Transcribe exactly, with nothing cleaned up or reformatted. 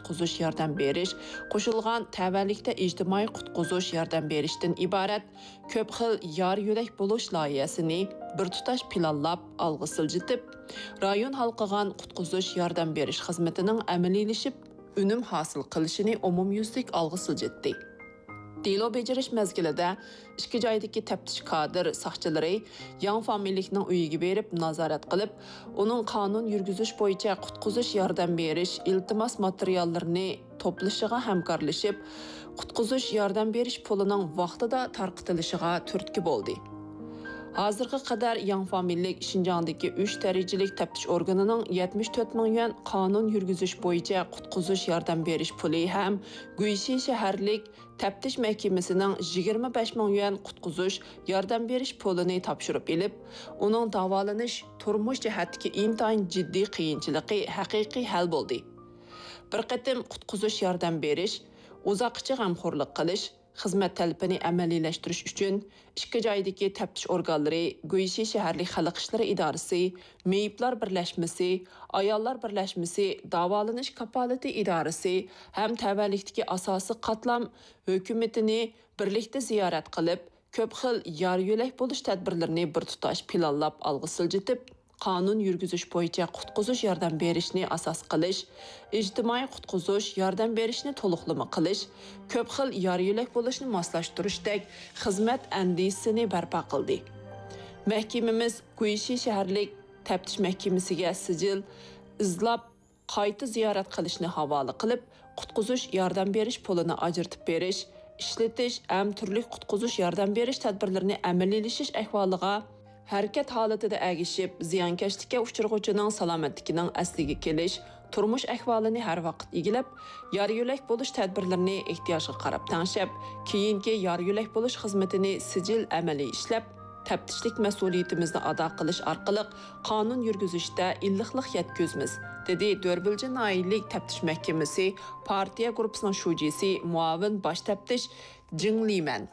قۇتقۇزۇش ياردەم بېرىش، قوشۇلغان تەۋەلىكتە ئىجتىمائىي قۇتقۇزۇش ياردەم بېرىشتىن ئىبارەت كۆپ خىل يار يۆلەك بولۇش لايىھەسىنى بىر تۇتاش پىلانلاپ ئالغا سىلجىتىپ، رايون ھالقىغان قۇتقۇزۇش ياردەم بېرىش خىزمىتىنىڭ ئەمەلىيلىشىپ، ئۈنۈم ھاسىل قىلىشىنى ئومۇميۈزلۈك ئالغا سىلجىتتى. دېلو بېجىرىش مەزگىلىدە ئىككى جايدىكى تەپتىش كادىر ساقچىلىرى ياڭ فامىلىلىكنىڭ ئۆيىگە بېرىپ نازارەت قىلىپ، ئۇنىڭ قانۇن يۈرگۈزۈش بويىچە قۇتقۇزۇش ياردەم بېرىش ئىلتىماس ماتېرىياللىرىنى توپلىشىغا ھەمكارلىشىپ، قۇتقۇزۇش ياردەم بېرىش پۇلىنىڭ ۋاقتىدا تارقىتىلىشىغا تۈرتكە بولدى. ھازىرغا قەدەر ياڭ فامىلىلىك شىنجاڭدىكى ئۈچ دەرىجىلىك تەپتىش ئورگىنىنىڭ يەتمىش تۆت مىڭ يۈەن قانۇن يۈرگۈزۈش بويىچە قۇتقۇزۇش ياردەم بېرىش پۇلى ھەم گۇيشى شەھەرلىك تەپتىش مەھكىمىسىنىڭ يىگىرمە بەش مىڭ يۈەن قۇتقۇزۇش ياردەم بېرىش پۇلىنى تاپشۇرۇپ ئېلىپ، ئۇنىڭ داۋالىنىش، تۇرمۇش جەھەتتىكى ئىنتايىن جىددىي قىيىنچىلىقى ھەقىقىي ھەل بولدى. بىر قېتىم قۇتقۇزۇش ياردەم بېرىش، ئۇزاققىچە غەمخورلۇق قىلىش، خىزمەت تەلىپىنى ئەمەلىيلەشتۈرۈش ئۈچۈن ئىككى جايدىكى تەپتىش ئورگانلىرى، گۇيشى شەھەرلىك خەلق ئىشلىرى ئىدارىسى، مېيىپلار بىرلەشمىسى، ئاياللار بىرلەشمىسى، داۋالىنىش كاپالىتى ئىدارىسى ھەم تەۋەلىكتىكى ئاساسىي قاتلام ھۆكۈمىتىنى بىرلىكتە زىيارەت قىلىپ، كۆپ خىل يار يۆلەك بولۇش تەدبىرلىرىنى بىر تۇتاش پىلانلاپ ئالغا سىلجىتىپ، قانۇن يۈرگۈزۈش بويىچە قۇتقۇزۇش ياردەم بېرىشنى ئاساس قىلىش، ئىجتىمائىي قۇتقۇزۇش ياردەم بېرىشنى تولۇقلىما قىلىش، كۆپ خىل يار يۆلەك بولۇشنى ماسلاشتۇرۇشتەك خىزمەت ئەندىزىسىنى بەرپا قىلدى. مەھكىمىمىز گۇيشى شەھەرلىك تەپتىش مەھكىمىسىگە سىجىل ئىزلاپ، قايتا زىيارەت قىلىشنى ھاۋالە قىلىپ، قۇتقۇزۇش ياردەم بېرىش پۇلىنى ئاجرىتىپ بېرىش، ئىشلىتىش ھەم تۈرلۈك قۇتقۇزۇش ياردەم بېرىش تەدبىرلىرىنى ئەمەلىيلىشىش ئەھۋالىغا ھەرىكەت ھالىتىدە ئەگىشىپ، زىيانكەشلىككە ئۇچرىغۇچىنىڭ سالامەتلىكىنىڭ ئەسلىگە كېلىش، تۇرمۇش ئەھۋالىنى ھەر ۋاقىت ئىگىلەپ، يار يۆلەك بولۇش تەدبىرلىرىنى ئېھتىياجغا قاراپ تەڭشەپ، كېيىنكى يار يۆلەك بولۇش خىزمىتىنى سىجىل ئەمەلىي ئىشلەپ، تەپتىشلىك مەسئۇلىيىتىمىزنى ئادا قىلىش ئارقىلىق قانۇن يۈرگۈزۈشتە ئىللىقلىق يەتكۈزىمىز، دېدى دۆربىلجى ناھىيەلىك تەپتىش مەھكىمىسى پارتىيە گۇرۇپپىسىنىڭ شۇجىسى، مۇئاۋىن باش تەپتىش جىڭ لىمەن.